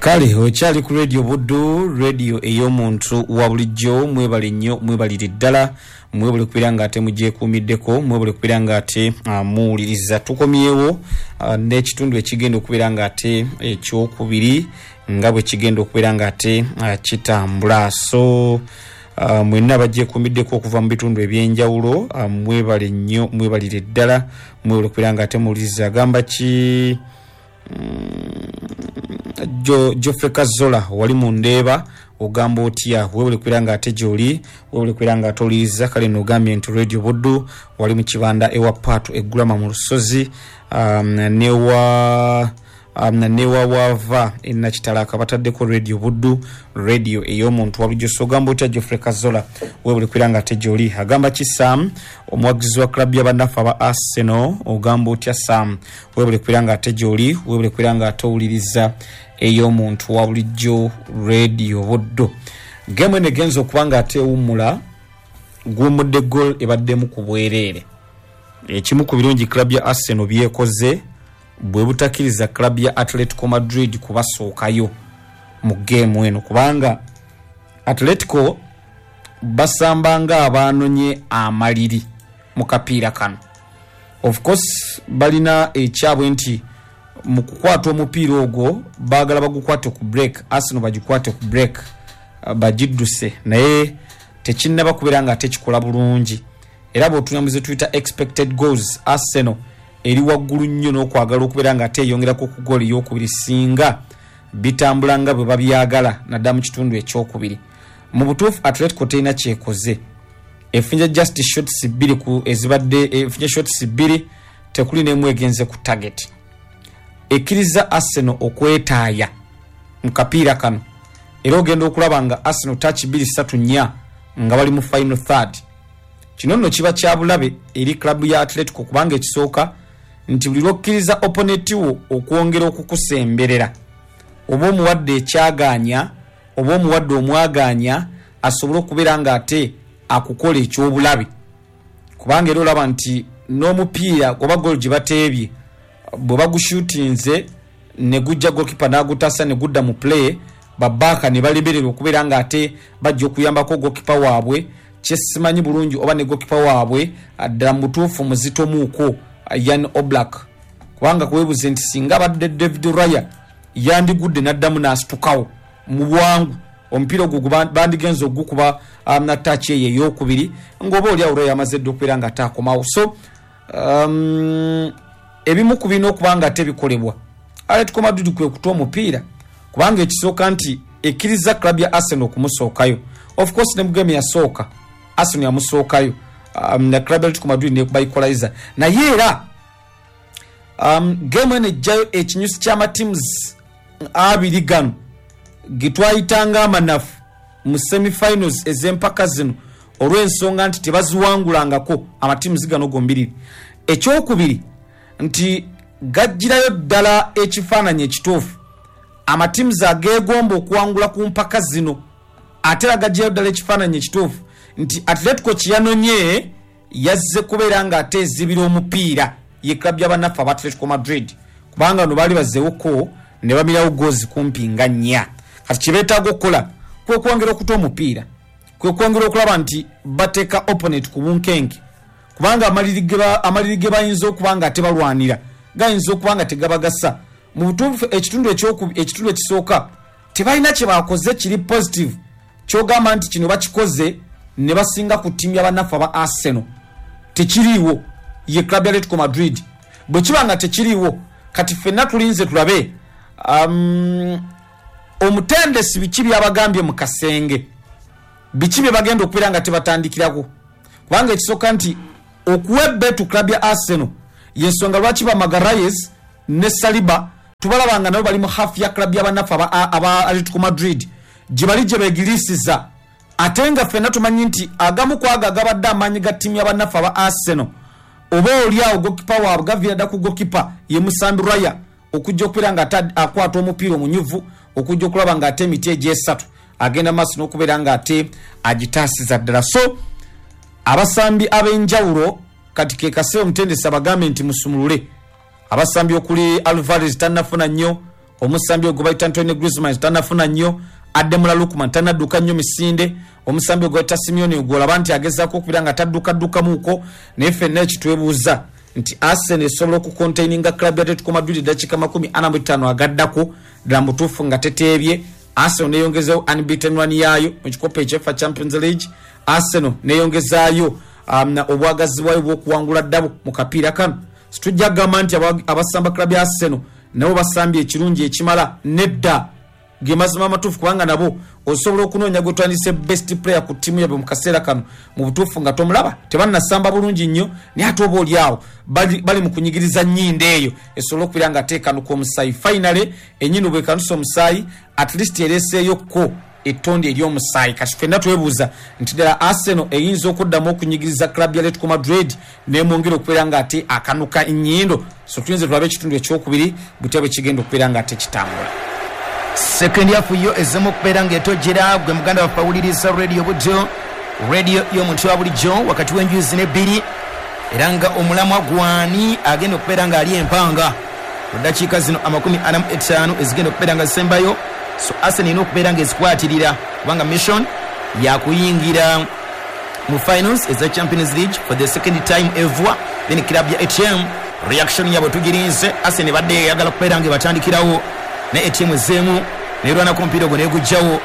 Kale okyali ku Radio Buddu, radio ey'omuntu wa bulijjo. Mwebale nnyo, mwebalire ddala, mwebale kubeera nga ate mugyekuumiddeko, mwebale kubeera nga ate muwuliriza. Tukomyewo n'ekitundu ekigenda okubeera nga ate ekyokubiri nga bwe kigenda okubeera nga ate kitambula. So mwenna abagyekuumiddeko okuva mu bitundu eby'enjawulo, mwebale nnyo, mwebalire ddala, mwebale kubeera nga ate muwuliriza. Agamba ki? Geoffrey Kazola wali mu Ndeeba, ogamba otya? Webale kubeera nga ate gyoli, webale kubeera nga ate owuliriza. Kale nogambye nti Radio Buddu wali mu Kibanda ewa Paatu Eggulama mu Lusozi, newa waava e Nakitalaka bataddeko Radio Buddu, radio ey'omuntu wa bulijjo. So ogamba otya Geoffrey Kazola? Webale kubeera nga ate gyoli. Agamba ki Sam, omuwagizi wa club y'abannaffe aba Arsenal? Ogamba otya Sam? Webale kubeera nga ate gyoli, webale kubeera nga ate owuliriza ey'omuntu wa bulijjo Radio Buddu. Game eno egenza okuba nga ate ewummula, guwummudde goal ebaddemu ku bwereere. Ekimu ku birungi club ya Arsenal byekoze bwe butakkiriza club ya Atletico Madrid kubasookayo mu game eno, kubanga Atletico basamba nga abaanonye amaliri mu kapiira kano. Of course balina ekyabwe nti mu kukwata omupiira ogwo baagala bagukwate ku break, Arsenal bagikwate ku break bagidduse, naye tekinnaba kubeera nga ate kikola bulungi. Era bw'otunula mu ze tuyita expected goals, Arsenal eri waggulu nnyo n'okwagala okubeera nga ate eyongerako ku goal ey'okubiri singa bitambula nga bwe babyagala naddala mu kitundu ekyokubiri. Mu butuufu Atletico terina kyekoze, efunye just shots bbiri ku ezibadde, efunye shots bbiri, tekuli n'emu egenze ku target. Ekkiriza Arsenal okwetaaya mu kapiira kano, era ogenda okulaba nga Arsenal touch 2 3 4 nga bali mu final third. Kino nno kiba kya bulabe eri club ya Atletico, kubanga ekisooka nti buli lw'okkiriza opponent wo okwongera okukusemberera, oba omuwadde ekyagaanya oba omuwadde omwagaanya asobole okubeera nga ate akukola eky'obulabe. Kubanga era olaba nti n'omupiira oba goal gye bateebye bwe bagushutinze ne gujja goalkeeper n'agutaasa ne gudda mu play, babaaka ne balemererwa okubeera nga ate bajja okuyambako goalkeeper waabwe. Kyesimanyi bulungi oba ne goalkeeper waabwe ddala mu butuufu muzitomuuko Jan Oblak, kubanga kwebuze nti singa abadde David Raya yandigudde n'addamu n'asitukawo mu bwangu, omupiira ogwo bandigenze ogukuba na touch eyo ey'okubiri ng'oba oli awo Raya amaze dda okubeera nga ate akomawo. So ebimu ku birina okuba nga ate bikolebwa Atletico Madrid kwe kuta omupiira, kubanga ekisooka nti ekkiriza club ya Arsenal okumusookayo. Of course ne mu game yasooka Arsenal yamusookayo, na club ya Atletico Madrid nekuba equalizer, naye era game eno ejjayo ekinyusi ky'amatiims abiri gano getwayitanga amanafu mu semifinals ez'empaka zino, olw'ensonga nti tebaziwangulangako amatiims gano gombiriri. Ekyokubiri nti gajjirayo ddala ekifaananyi ekituufu amatiims ageegomba okuwangula ku mpaka zino, ate era gajjirayo ddala ekifaananyi ekituufu nti Atletico kyeyanonye yazze kubeera nga ate ezibira omupiira ye club y'abannaffe aba Atletico Madrid, kubanga no baali bazzeewoko ne bamirawo goals kumpi nga nnya. Kati kye beetaaga okukola kwe kwongera okuta omupiira, kwe kwongera okulaba nti bateeka opponent ku bunkenke, kubanga amaliri ge bayinza okuba nga tebalwanira gayinza okuba nga tegabagasa. Mu butuufu ekitundu ekisooka tebalina kye bakoze kiri positive kyogamba nti kino bakikoze ne basinga ku ttiimu y'abannaffe aba Arsenal. Tekiriiwo ye club ya Atletico Madrid. Bwe kiba nga tekiriiwo, kati ffenna tulinze tulabe omutendesi biki byabagambye mu kasenge, biki bye bagenda okubeera nga tebatandikirako, kubanga ekisooka nti okuwa ebbeetu club ya Arsenal y'ensonga lwaki ba Magalhaes ne Saliba tubalaba nga nabo bali mu half ya club y'abannaffe aba Atletico Madrid gye bali gye beegiriisiza, ate nga ffenna tumanyi nti agamu ku ago agabadde amaanyi ga ttiimu y'abannaffe aba Arsenal oba oli awo goalkeeper waabwe gaviira dda ku goalkeeper ye Musambi Raya okujja okubeera nga ate akwata omupiira omunyuvu okujja okulaba nga ate emiti egy'esatu agenda maaso n'okubeera nga ate agitaasiza ddala. So abasambi ab'enjawulo kati ke kaseera omutendesi abagambe nti musumulule abasambi okuli Alvarez tannafuna nnyo, Omusambi ogwo bayita Antoine Griezmann tanafuna nnyo, Ademola Lookman tanadduka nnyo misinde, omusambi ogwo bayita Simeone ogwo olaba nti agezaako okubeera nga taddukaddukkamuuko. Naye ffenna ekitwebuuza nti Arsenal esobola okucontaininga club ya Atletico Madrid eddakiika 45 agaddako ddala mutuufu nga teteebye? Arsenal neyongezayo unbeaten run yaayo mu kikopo ekyefa Champions League. Arsenal neyongezaayo obwagazi bwayo bw'okuwangula ddabo mu kapiira kano. Situjja kugamba nti abasamba club ya Arsenal nabo basambye ekirungi ekimala, nedda, ge mazima amatuufu, kubanga nabo osobola okunoonya gwe twandise best player ku ttiimu yabwe mu kaseera kano mu butuufu nga tomulaba. Tebannasamba bulungi nnyo, naye ate oba oli awo bali mu kunyigiriza nnyindo eyo esobole okubeera nga teekanuka omusaayi. Finally ennyindo bwekanusa omusaayi, at least ereeseeyokko ettondi ery'omusaayi. Kati ffenna twebuuza nti ddala Arsenal eyinza okuddamu okunyigiriza club ya Atletico Madrid nemwongera okubeera nga ate akanuka ennyindo? So tuyinza tulabe ekitundu ekyokubiri butya bwe kigenda okubeera nga ate kitambula. Second half yo ezzemu okubeera ng'etojjera. Gwe muganda waffe awuliriza Radio Buddo, radio y'omuntu wa bulijjo, wakati w'enjuyi zino ebbiri, era nga omulamwa gwani agenda okubeera ng'ali empanga mu ddakiika zino 45 ezigenda okubeera nga zisembayo. So Arsenal erina okubeera ng'ezikwatirira, kubanga mission yakuyingira mu finals eza Champions League for the second time ever. Then club ya ATM reaction yabwe tugirinze. Arsenal ebadde eyagala kubeera nga ebatandikirawo, naye ATM ezzeemu nerwanako omupiira ogwo negujjawo.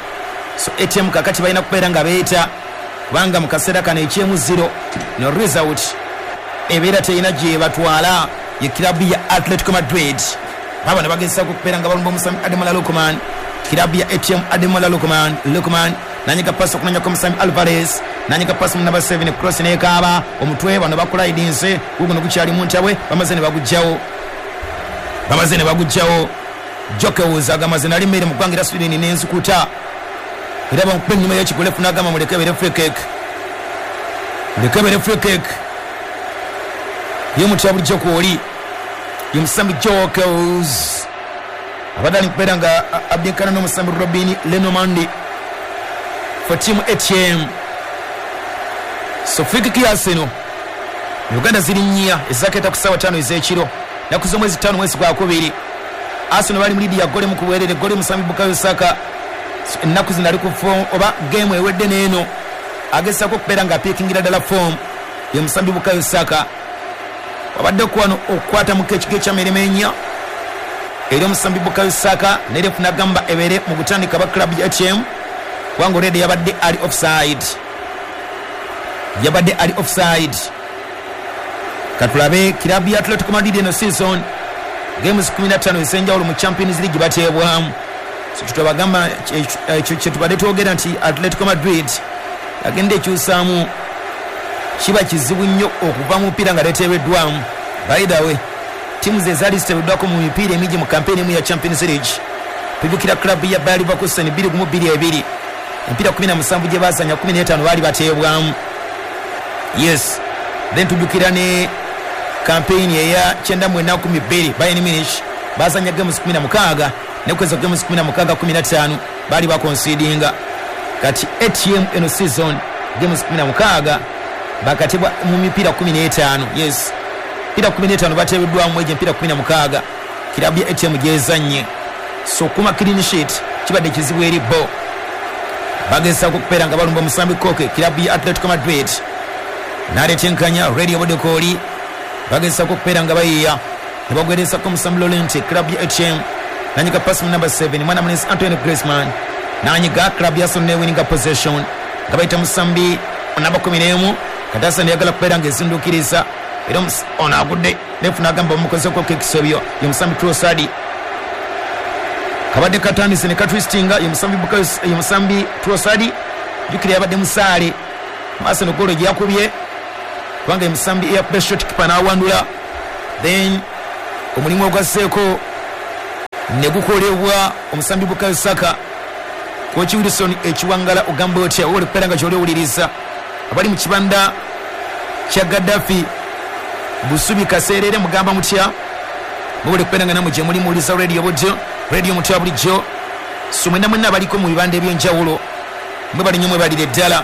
So ATM kakati balina kubeera nga beeta, kubanga mu kaseera kano ekyemu 0 no result ebeera terina gye batwala. Ye club ya Atletico Madrid baba ne bagezaako okubeera nga balumba omusambi Ademola Lookman, club ya ATM. Ademola Lookman, Lookman nanyiga pasi okunonyako omusambi Alvarez, nanyiga pasi mu namba 7, cross nekaaba omutwe. Bano bakulayidinze, guguno gukyali mu ntabwe, bamaze ne bagujjawo, bamaze ne bagujjawo. Jokewuza agamba ze nali mmere mu ggwanga era Sweden n'enzikuta, era bamukuba ennyuma y'ekigulefu n'agamba muleke ebere free kick, muleke ebere free kick. Ye mutya bulijjo kwoli ye musambi Jokewuza abadde ali kubeera nga abdinkana n'omusambi Robin Lenormand for team ATM. So free kick ya Arsenal. Uganda ziri nnya ezakeeta ku ssaawa 5 ez'ekiro, naku z'omwezi 5 mwezi gwakubiri. Arsenal bali mu lead ya gole mu kuweerera eggole musambi Bukayo Saka. Ennaku zino ali ku form, oba game ewedde n'eno agezaako okubeera nga apiikingira ddala form ye musambi Bukayo Saka. Wabadde wano okukwata mu kekigo ekyamirimu ennya eri omusambi Bukayo Saka, naye ref n'agamba ebeere mu kutandika ba club ya ATM, kubanga already yabadde ali offside, yabadde ali offside. Katulabe club ya Atletico Madrid eno season games 15 ez'enjawulo mu Champions League bateebwamu. So kitwabagamba ekyo kyetubadde twogera nti Atletico Madrid agenda ekyusaamu, kiba kizibu nnyo okuva mu mupiira nga teteebeddwamu. By the way, tiimu ze ezaali ziteebeddwako mu mipiira emingi mu kampeyini emu ya Champions League, tujjukira club ya Bayer Leverkusen 2-1-2-2, emipiira 17 gye baazanya 15 baali bateebwamu. Yes, then tujjukira ne kampeyini eya 99-12, Bayern Munich bazanya games 16, nekweza games 16 15 baali bakonsidinga. Kati ATM eno season games 16 bakatebwa mu mipiira 15. Yes, mipiira 15 bateebeddwamu egyo emipiira 16 kirabu ya ATM gyezannye. So kuma clean sheet kibadde kizibu eri bo. Bagezaako okubeera nga balumba omusambi Koke, kirabu ya Atletico Madrid naleeta enkanya. Radio Bodekooli bagezaako okubeera nga bayiiya ne bagweresako omusambi Lorente, club ya ATM nanyiga pasi mu number 7, mwana mulenzi Antoine Griezmann nanyiga. Club ya Arsenal newininga possession nga bayita musambi namba 11. Kati Arsenal eyagala kubeera nga ezinduukiriza, era ono agudde, ref n'agamba bamukozeko ekisobyo. Ye musambi Trossard, kabadde katandise ne katwistinga. Ye musambi Bukayo, ye musambi Trossard, jjukira yabadde musaale mu Arsenal goolo gye yakubye, kubanga ye musambi eyakubye shot keeper n'awandula. Then omulimu ogwazzeeko ne gukolebwa omusambi Bukayo Saka. Koki Wilson ekiwangala ogamba otya? Oli kubeera nga kyoli owuliriza abali mu kibanda kya Gaddafi Busubi Kaseerere, mugamba mutya? Mubuli kubeera nga namwe gye muli muwuliza Radio Buddo, radio mutya bulijjo. So mwenna mwenna abaliko mu bibanda ebyenjawulo, mwebali nnyo, mwebalire ddala.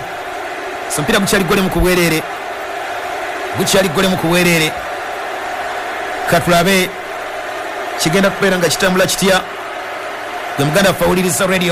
So omupiira gukyali gole mu kubwereere, gukyali gole mu kubwereere. Katulabe kigenda kubeera nga kitambula kitya. Gwe muganda waffe awuliriza radio.